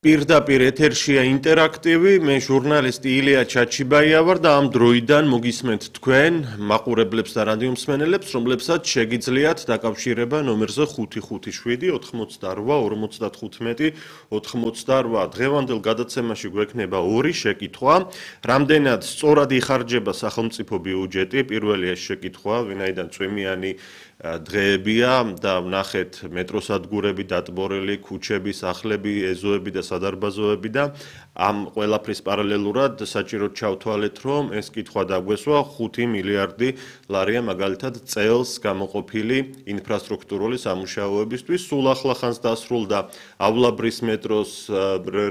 პირდაპირ ეთერშია ინტერაქტივი, მე ჟურნალისტი ილია ჩაჩიბაია ვარ და ამ დროიდან მოგისმენთ თქვენ მაყურებლებს და რადიომსმენელებს, რომლებსაც შეგიძლიათ დაკავშირება ნომერზე 557 88 55 დღევანდელ გადაცემაში გვექნება ორი შეკითხვა, რამდენად სწორად იხარჯება სახელმწიფო ბიუჯეტი, პირველი ეს შეკითხვა, ვინაიდან წვიმიანი დღეებია და ვნახეთ მეტროსადგურები დატბორილი, ქუჩები, სახლები, ეზოები და სადარბაზოები და ამ ყველაფრის პარალელურად საჭიროდ ჩავთვალეთ, რომ ეს კითხვა დაგვესვა 5 მილიარდი ლარია მაგალითად წელს გამოყოფილი ინფრასტრუქტურული სამუშაოებისთვის. სულ ახლახანს დასრულდა ავლაბრის მეტროს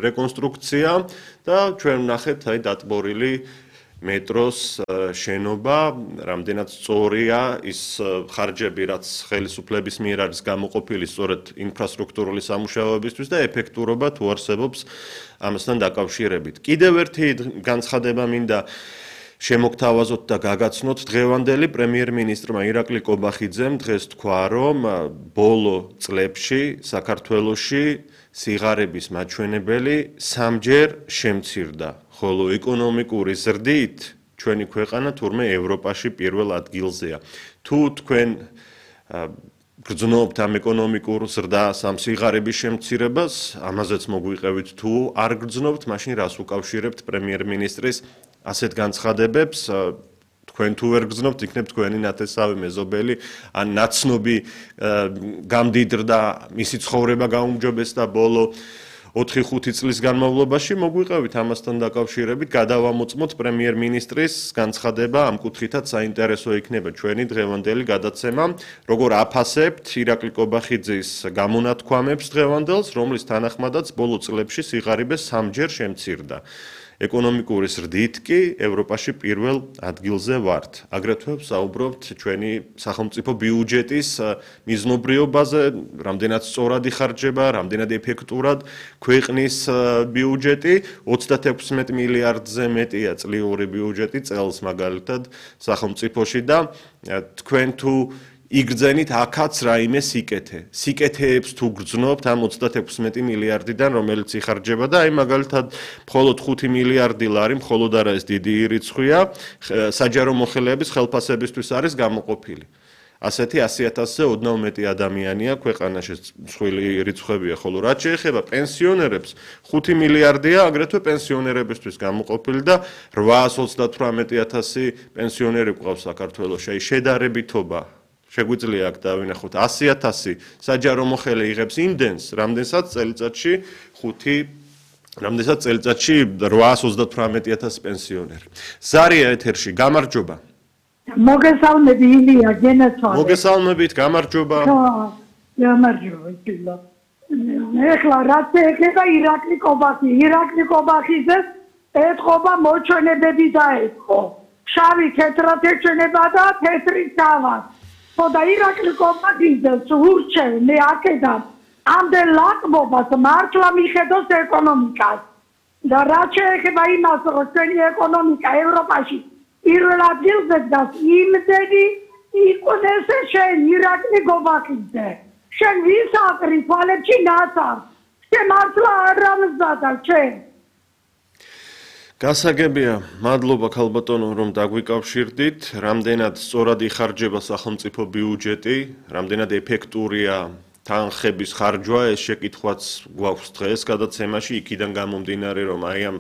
რეკონსტრუქცია და ჩვენ ვნახეთ დატბორილი მეტროს შენობა, რამდენად სწორია ის ხარჯები, რაც ხელისუფლების მიერ არის გამოყოფილი სწორედ ინფრასტრუქტურული სამუშაოებისთვის და ეფექტურობა თუ არსებობს ამასთან დაკავშირებით. კიდევ ერთი განცხადება მინდა შემოგთავაზოთ და გაგაცნოთ დღევანდელი პრემიერ-მინისტრმა ირაკლი კობახიძემ დღეს თქვა, რომ ბოლო წლებში საქართველოში სიღარიბის მაჩვენებელი 3-ჯერ შემცირდა. ხოლო ეკონომიკური ზრდით ჩვენი ქვეყანა თურმე ევროპაში პირველ ადგილზეა. თუ თქვენ გრძნობთ ამ ეკონომიკურ ზრდას, ამ სიღარიბის შემცირებას, ამაზეც მოგვიყევით, თუ არ გრძნობთ, მაშინ რას უკავშირებთ პრემიერ-მინისტრის ასეთ განცხადებებს? თქვენ თუ ვერ გრძნობთ, იქნებ თქვენი ნათესავი მეზობელი, ან ნაცნობი გამდიდრდა, მისი ცხოვრება გაუმჯობესდა ბოლო 4-5 წლის განმავლობაში, მოგვიყევით ამასთან დაკავშირებით, გადავამოწმოთ პრემიერ-მინისტრის განცხადება, ამ კუთხითაც საინტერესო იქნება ჩვენი დღევანდელი გადაცემა, როგორ აფასებთ ირაკლი კობახიძის გამონათქვამებს დღევანდელს, რომლის თანახმადაც ბოლო წლებში სიღარიბე 3-ჯერ შემცირდა. ეკონომიკური ზრდით კი ევროპაში პირველ ადგილზე ვართ. აგრეთვე ვსაუბრობთ ჩვენი სახელმწიფო ბიუჯეტის მიზნობრიობაზე, რამდენად სწორად იხარჯება, რამდენად ეფექტურად ქვეყნის ბიუჯეტი, 36 მილიარდზე მეტია წლიური ბიუჯეტი წელს მაგალითად სახელმწიფოში და თქვენ თუ იგრძენით აქაც რაიმე სიკეთე. სიკეთეებს თუ გრძნობთ ამ 36 მილიარდიდან, რომელიც იხარჯება და აი მაგალითად მხოლოდ 5 მილიარდი ლარი, მხოლოდ არა ეს დიდი რიცხვია, საჯარო მოხელეების ხელფასებისთვის არის გამოყოფილი. ასეთი 100,000-ზე ოდნავ მეტი ადამიანია ქვეყანაში, მსხვილი რიცხვებია, ხოლო რაც შეეხება პენსიონერებს, 5 მილიარდია აგრეთვე პენსიონერებისთვის გამოყოფილი და 838,000 პენსიონერი გვყავს საქართველოში. აი შედარებითობა შეგვიძლია აქ დავინახოთ 100,000 საჯარო მოხელე იღებს იმდენს, რამდენსაც წელიწადში 838,000 პენსიონერი. ზარია ეთერში, გამარჯობა. მოგესალმები ილია, გენაცვალე. მოგესალმებით, გამარჯობა. გამარჯობა, ილია. ეხლა რაც ეხება ირაკლი კობახიძეს ეთყობა მოჩვენებები დაეთყო. შავი თეთრად ეჩვენება და თეთრი დავა. და ირაკლი კობახიძეს ურჩევ მე აქედან ამდენ ლაკმობას მართლა მიხედოს ეკონომიკას და რაც შეეხება იმას, რომ ჩვენი ეკონომიკა ევროპაში პირველ ადგილზე დგას, იმდენი იყვნეს შენ ირაკლი კობახიძე. შენ ვის აკრი თვალებში ნაცარ? შენ მართლა არ ამზადა შენ. გასაგებია, მადლობა ქალბატონო, რომ დაგვიკავშირდით, რამდენად სწორად იხარჯება სახელმწიფო ბიუჯეტი, რამდენად ეფექტურია თანხების ხარჯვა, ეს შეკითხვაც გვაქვს დღეს გადაცემაში, იქიდან გამომდინარე, რომ აი ამ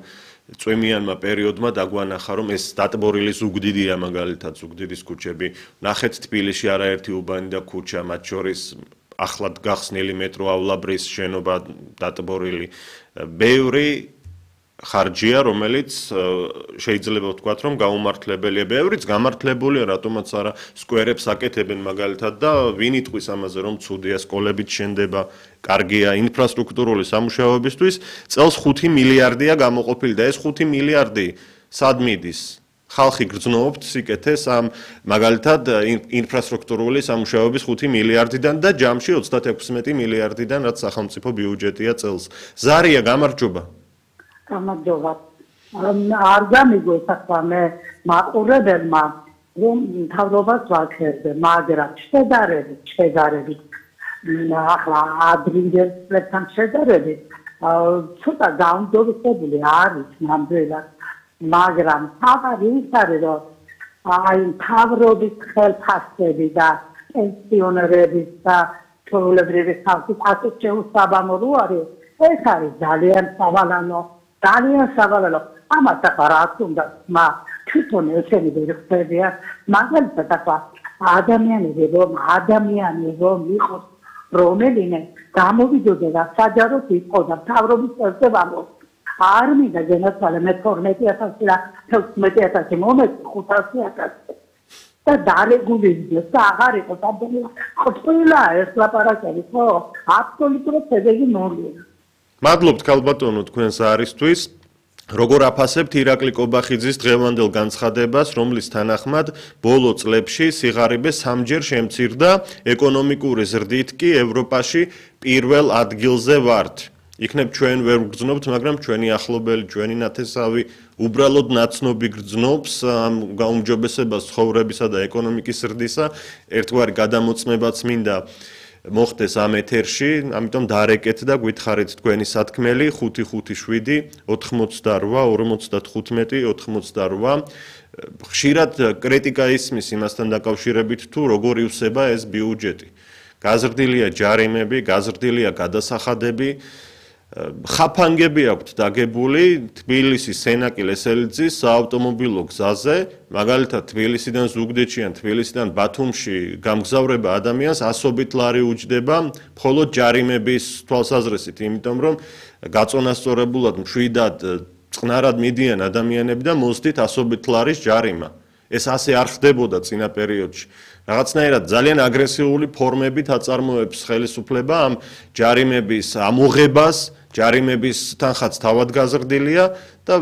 წვიმიანმა პერიოდმა დაგვანახა, რომ ეს დატბორილი ზუგდიდია მაგალითად, ზუგდიდის ქუჩები, ნახეთ თბილისში არაერთი უბანი და ქუჩა, მათ შორის ახლად გახსნილი მეტრო ავლაბრის შენობა დატბორილი, ბევრი ხარჯია, რომელიც შეიძლება ვთქვათ, რომ გაუმართლებელია. ბევრიც გამართლებულია, რატომაც არა სკვერებს აკეთებენ მაგალითად და ვინ იტყვის ამაზე, რომ ცუდია, სკოლებით შენდება, კარგია ინფრასტრუქტურული სამუშაოებისთვის, წელს 5 მილიარდია გამოყოფილი და ეს 5 მილიარდი სად მიდის? ხალხი გრძნობთ სიკეთეს ამ მაგალითად ინფრასტრუქტურული სამუშაოების 5 მილიარდიდან და ჯამში 36 მილიარდიდან, რაც სახელმწიფო ბიუჯეტია წელს. ზარია, გამარჯობა. გამარჯობა. არ გამიგოს ახლა მე მაყურებელმა რომ თავრობას ვაქერდე, მაგრამ შედარებით ახლა ადრინდელ წლებთან შედარებით ცოტა გაუმჯობესებული არის ნამდვილად, მაგრამ თავი ის არის, რომ აი მთავრობის ხელფასები და პენსიონერების და ჩვეულებრივი ხალხის ასეთ შეუსაბამო რო არის, ეს არის ძალიან სავალალო, ამას ახლა რაც უნდა თვითონ ესენი ვერ ხდებიან, მაგალითად ახლა ადამიანები რომ იყოს რომელიმე გამოვიდოდა საჯაროდ იყო და მთავრობის წესდებამო არ მინდა განაცვალე მე 12000 და 16000 მომეც 500000 და დარეგულირდეს და აღარ იყოს ადამიანს ყველა ეს ლაპარაკები ხო აბსოლუტურად შედეგი ნულია. მადლობთ ქალბატონო თქვენს არისთვის. Როგორ აფასებთ ირაკლი კობახიძის დღევანდელ განცხადებას, რომლის თანახმად ბოლო წლებში სიღარიბე სამჯერ შემცირდა, ეკონომიკური ზრდით კი ევროპაში პირველ ადგილზე ვართ. იქნებ ჩვენ ვერ ვგრძნობთ, მაგრამ ჩვენი ახლობელი, ჩვენი ნათესავი უბრალოდ ნაცნობი გრძნობს ამ გაუმჯობესებას ცხოვრებისა და ეკონომიკის ზრდისა, ერთგვარი გადამოწმებაც მინდა მოხდეს ამ ეთერში, ამიტომ დარეკეთ და გითხარით თქვენი სათქმელი 557 88 55 88. ხშირად კრიტიკა ისმის იმასთან დაკავშირებით თუ როგორ ივსება ეს ბიუჯეტი. გაზრდილია ჯარიმები, გაზრდილია გადასახადები, ხაფანგები აქვთ დაგებული თბილისის სენაკი-ლესელიძის საავტომობილო გზაზე, მაგალითად თბილისიდან ზუგდიდში ან თბილისიდან ბათუმში გამგზავრება ადამიანს ასობით ლარი უჯდება მხოლოდ ჯარიმების თვალსაზრისით, იმიტომ რომ გაწონასწორებულად მშვიდად წყნარად მიდიან ადამიანები და მოსდით ასობით ლარის ჯარიმა. ეს ასე არ ხდებოდა წინა პერიოდში. რაღაცნაირად ძალიან აგრესიული ფორმებით აწარმოებს ხელისუფლება ამ ჯარიმების ამოღებას, ჯარიმების თანხაც თავად გაზრდილია და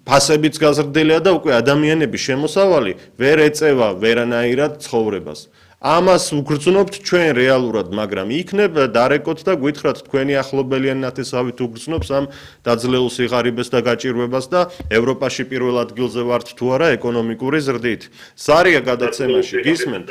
ფასებიც გაზრდილია და უკვე ადამიანების შემოსავალი ვერ ეწევა ვერანაირად ცხოვრებას. ამას უგრძნობთ ჩვენ რეალურად, მაგრამ იქნებ დარეკოთ და გითხრათ თქვენი ახლობელი ან ნათესავი თუ გრძნობს ამ დაძლეულ სიღარიბეს და გაჭირვებას და ევროპაში პირველ ადგილზე ვართ თუ არა ეკონომიკური ზრდით. სარია გადაცემაში გისმენთ?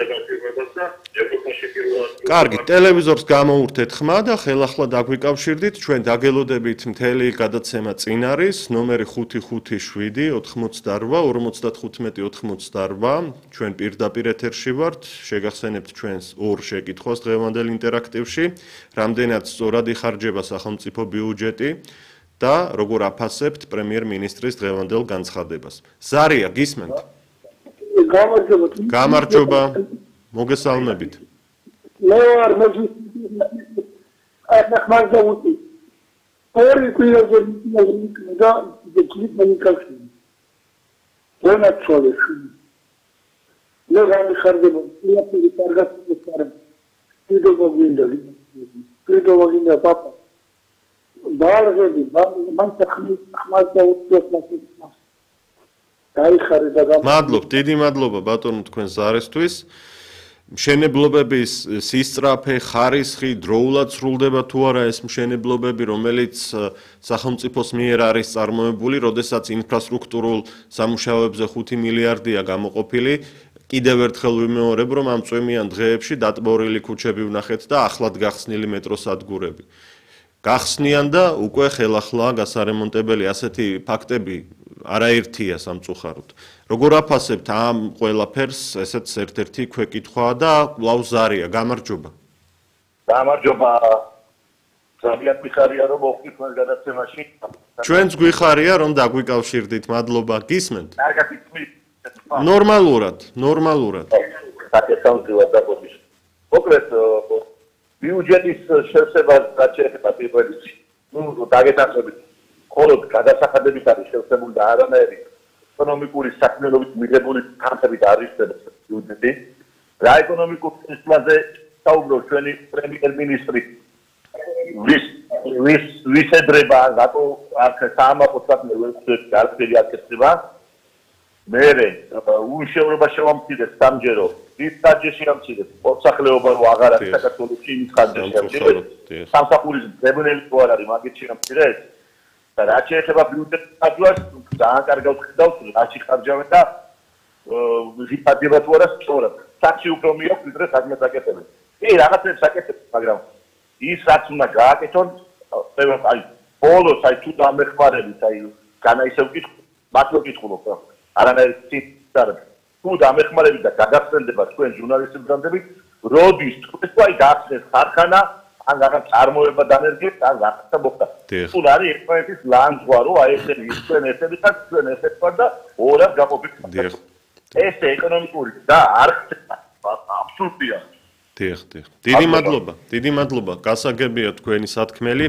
კარგი, ტელევიზორს გამოურთეთ ხმა და ხელახლა დაგვიკავშირდით, ჩვენ დაგელოდებით მთელი გადაცემა წინ არის, ნომერი 557 88 55 88, ჩვენ პირდაპირ ეთერში ვართ, შეგახსენებთ ჩვენს ორ შეკითხვას დღევანდელ ინტერაქტივში, რამდენად სწორად იხარჯება სახელმწიფო ბიუჯეტი და როგორ აფასებთ პრემიერ-მინისტრის დღევანდელ განცხადებას. ზარია, გისმენთ? გამარჯობა. მოგესალმებით. მე ვარ მაგზაუტი. ორი კვირაზე და დეკლიმენიკაში. ვენაცვალე. მე გამიხარდება, იაფი კარგად ვიყარებ. ვიდეოგინდა პაპა. ბალღები, მან ხმაზაუტი დაიხარე და მადლობ, დიდი მადლობა ბატონო თქვენ ზარისთვის. მშენებლობების სისწრაფე, ხარისხი, დროულად სრულდება თუ არა ეს მშენებლობები, რომელიც სახელმწიფოს მიერ არის წარმოებული, როდესაც ინფრასტრუქტურულ სამუშაოებზე 5 მილიარდია გამოყოფილი. კიდევ ერთხელ ვიმეორებ, რომ ამ წვიმიან დღეებში დატბორილი ქუჩები ვნახეთ და ახლად გახსნილი მეტროსადგურები. გახსნიან და უკვე ხელახლა გასარემონტებელი ასეთი ფაქტები არაერთია სამწუხაროდ. როგორ აფასებთ ამ ყველაფერს, ესეც ერთ-ერთი ქვეკითხვაა და ლავზარია, გამარჯობა. გამარჯობა. ძალიან მიხარია რომ მოხდით თქვენ გადაცემაში. ჩვენც გვიხარია რომ დაგვიკავშირდით, მადლობა. გისმენთ? კარგად იცმით. ნორმალურად. საკეთავდივარ და პოზიცია. მოკლედ ბიუჯეტის შევსება გაჩერება პირველ რიგში. დაგეთანხმებით. მხოლოდ გადასახადებით არის შევსებული და არანაირი ეკონომიკური საქმიანობით მიღებული თანხებით არ იხსნება ბიუჯეტი. რა ეკონომიკურ სისტემაზე საუბრობს ჩვენი პრემიერ-მინისტრი? ვის ედრება რატო არ საამაყო საქმე ვერ გაწევი აკეთება? მერე უშევრობა შევამცირდეს სამჯერო, ის ხარჯი ამცირდეს, პორტსახელეობა რო აღარ არის საქართველოში, ის ხარჯი ამცირდეს. სამსახურის ძებნელი თუ არ არის, მაგით შეამცირდეს. და რაც შეეხება ბიუჯეტის ხარჯვას, ძალიან კარგად ხედავთ, რაში ხარჯავენ და ვიფადდება თუ არა სწორად. საქმე უფრო მიაქვს, ვიდრე საქმეს აკეთებენ. კი, რაღაცებს აკეთებენ, მაგრამ ის რაც უნდა გააკეთონ, აი ბოლოს აი თუ დამეხმარებით აი განა ისევ ვკითხულობ მართლა ვკითხულობ არანაირ ციტარებს თუ დამეხმარებით და გადაგწენდება თქვენ ჟურნალისტებამდე როდის თქვენ აი გაახსნეს ხარხანა ან რაღაც წარმოება დანერგეთ ან რაღაცა მოხდა თუ არის ერთმანეთის ლანძღვა რომ აი ესენი თქვენ ესები და თქვენ ესეთ ვარ და ორად გაყოფილი ეს ეკონომიკური და არ ხდება აბსურდია დიდი მადლობა გასაგებია თქვენი სათქმელი